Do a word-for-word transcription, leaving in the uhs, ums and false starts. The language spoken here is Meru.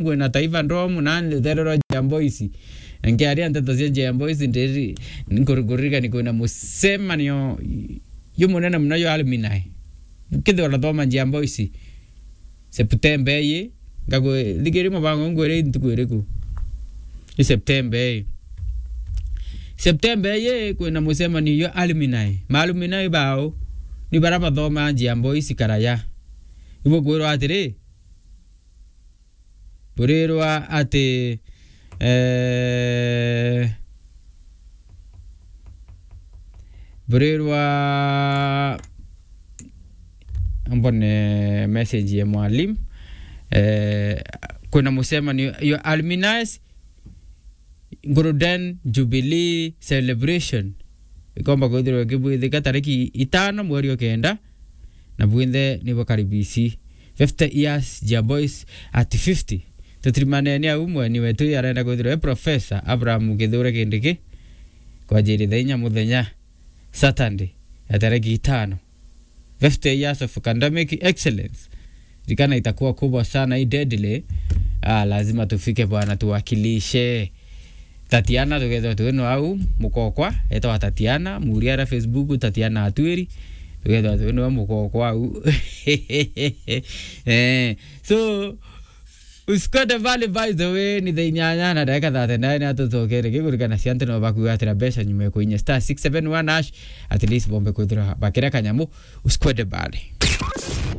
ngwina Taifa Dome na ruthere rwa Njia Boys. Na nkiaria nteto cia Njia Boys, ndiri-, nkuri-, nkuririkania kwina mucemanio jumunene muno jwa alumni. Ukethirwa urathoma Njia Boys, September ii, ngakwi-, thikiria mubango ngwire ntuku iriku. I September ii. September ii kwina mucemanio jwa alumni. Ma alumni bao ni baria bathoma Njia Boys karaya. Ibukwirwa atiri, burirwa ati, eh, burirwa, mbone message ya mwalimu, eh, kwina mucemanio jwa alumni, Golden Jubilee Celebration. Ikomba kwithirwa ikibwithika tariki itano mweri o kenda, na bwinthe ni bukaribisi. Fifty years, Njia Boys at fifty. Tutirimaneni au, mweni wetu arenda kwithirwa e Professor Abraham Kithure Kindiki, kwanjiria thaa inya muthenya, Saturday, ya tariki itano. Fifty years of academic excellence. Ririkana, itakuwa kubwa sana hii deadly. Ah, lazima tufike bwana, tuwakilishe. Tatiana, tugethwa twino au, mukokwa, etwa Tatiana, muria ara Facebook, Tatiana Atwiri, tugethwa twino mukokwa au. Eh, so, usikwende mbali, by the way, ni thaa inyanya na ndagika thirty-nine, atucokere kigurikana cia antu no bakugatira mbeca nyuma ya kuinya star six seven one hash, at least bombe kwithirwa bakira kanyamu, usikwende mbali.